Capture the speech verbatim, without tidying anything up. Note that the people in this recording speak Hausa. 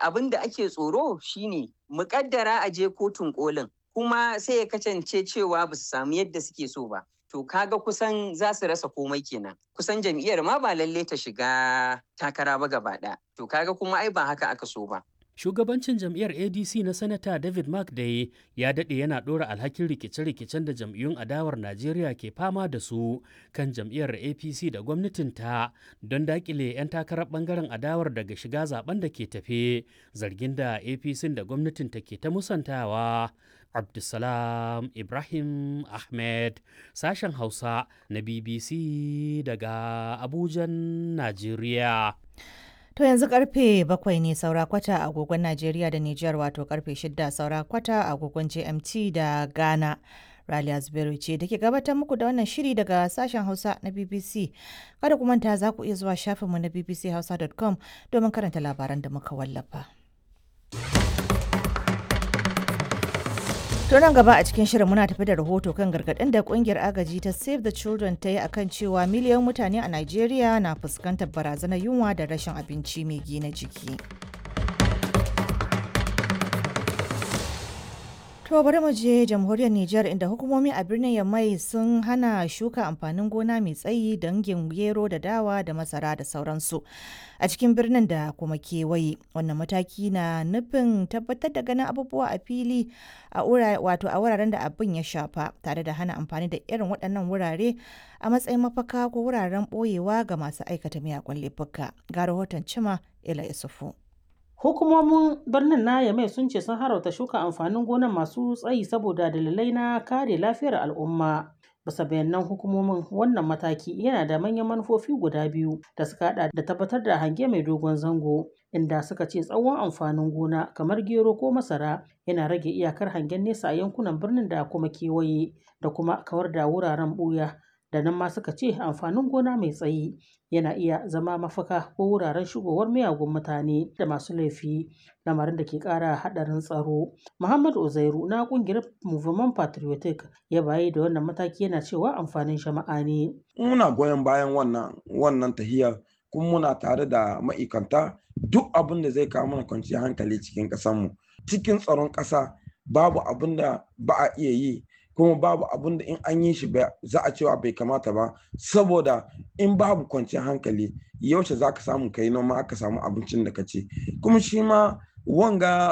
Abin da ake tsoro shine muƙaddara a je kotun kolin kuma sai ya kasance cewa ba su samu yadda suke so ba. To kaga kusan za su rasa komai kenan. Kusan jam'iyyar ma ba lalle ta shiga takara ba gaba ɗaya. To kaga kuma ai ba haka aka so ba. Shugabancin jam'iyyar A D C na Sanata David Mark dai ya daɗe yana ɗora alhakin rikice-rikicen da jam'iyyun adawar Najeriya ke fama da su kan jam'iyyar A P C da gwamnatinta don daƙile 'yan takarar ɓangaren adawar daga shiga zaben da ke tafe, zargin da A P C da gwamnatinta ke ta musantawa. Abdulsalam Ibrahim Ahmed, sashen Hausa na B B C daga Abujan, Najeriya. To yanzu karfe bakwai ne saura kwata a agogon Najeriya da Nijar, wato karfe shida saura kwata a agogon G M T da Ghana. Raliya Zubairu ce da ke gabatar muku da wannan shiri daga sashen Hausa na B B C. Kada ku manta, za ku iya zuwa shafinmu na b b c hausa dot com domin karanta labaran da muka wallafa. To nan gaba a cikin shirin muna tafi da rahoto kan gargaɗin da kungiyar agaji ta Save the Children ta yi akan cewa miliyan mutane a Najeriya na fuskantar barazanar yunwa da rashin abinci mai gina jiki. To bari mu je jamhuriyar Nijar, inda hukumomi a birnin Yamai sun hana shuka amfanin gona mai tsayi dangin gero da dawa da masara da sauransu a cikin birnin da kuma kewaye. Wannan mataki na nufin tabbatar da ganin abubuwa a fili a wato a wuraren da abin ya shafa, tare da hana amfani da irin waɗannan wurare a matsayin mafaka ko wuraren ɓoyewa ga masu aikata miyagun laifuka. Ga rahoton Cima Ila Isufu. Hukumomin birnin na Yamai sun ce sun haramta shuka amfanin gonan masu tsayi saboda dalilai na kare lafiyar al'umma. Bisa bayanan hukumomin, wannan mataki yana da manyan manufofi guda biyu da suka hada da tabbatar da hange mai dogon zango, inda suka ce tsawon amfanin gona kamar gero ko masara yana rage iyakar hangen nesa a yankunan birnin da kuma kewaye, da kuma kawar da wuraren buya da nan ma suka ce amfanin gona mai tsayi yana iya zama mafaka ko wuraren shigowar miyagun mutane da masu laifi, lamarin da ke kara hadarin tsaro. Muhammad Uzairu na kungiyar Movement Patriotic ya bayi da wannan mataki, yana cewa amfanin jama'a ne. Muna goyon bayan wannan wannan tahiyar, kuma muna tare da ma'aikanta duk abin da zai kawo mana kwanciyar hankali cikin ƙasarmu. Cikin tsaron ƙasa babu abin da ba a iya yi, kuma babu abun da in an yi shi za a cewa bai kamata ba, saboda in babu kwanciyar hankali, yaushe za ka samu kai noma aka samu abincin da ka ci? Kuma shi ma wanga